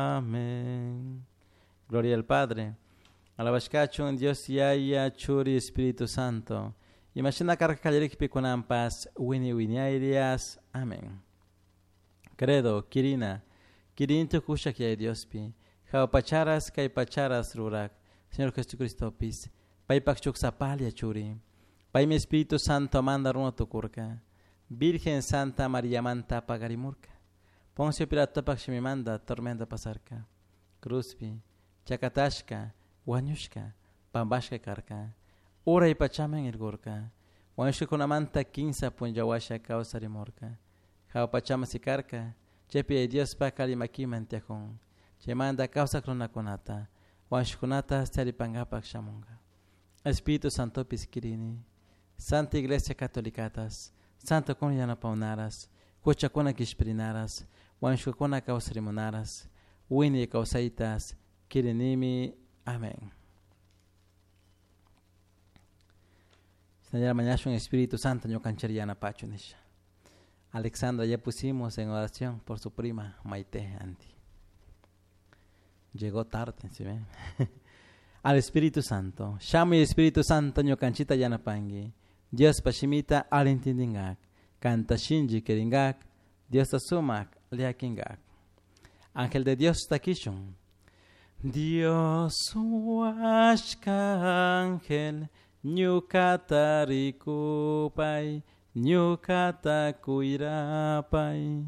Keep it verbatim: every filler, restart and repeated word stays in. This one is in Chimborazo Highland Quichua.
Amén. Gloria al Padre. Alabashkachun Dios Yaya Churi Espíritu Santo. Imashina karka kallarikpi kunanpas wini wiñayrias. Amén. Credo, Kirina, Kirintu kushak Yaya Diospi, Jao pacharas kay pacharas rurak, Señor Jesucristopis, paypak chuksapalia churi, paymi Espíritu Santo manda runa tukurka, Virgen Santa María manta pagarimurka, Poncio Pilatopak shimimanda tormenta pasarka, Cruzpi, chakatashka, wañushka, pampashka karka, uray pachaman irgurka, wañushkakunamanta kinsa punlla kawsarimurka, Jao pachaman sikarka, chaypi Diospak alli makiman tiyakun, chaymanta kawsak runakunata, wañushkakunata charipankapak shamunka. Espíritu Santopis kirini, Santa Iglesia Catolicatas, Santo kun yanapawnaras, huchakuna kishpirinaras, wañushkakuna kawsarimunaras, wiñay kawsaytas, kirinimi. Amén. Señora mañashun Espíritu Santo ñukanchik yanapachu nisha. Alexandra ya pusimos en oración por su prima Maite Andy. Llegó tarde, ¿sí ven? Al Espíritu Santo. Shamuy Espíritu Santo ñukanchita yanapangi. Dios pashimita alintindingak. Kanta shinji kiringak. Dios sumak liakingak. Ángel de Dios takishun. Dios huashka ángel ñukata rikupay, ñukata kuyrapay.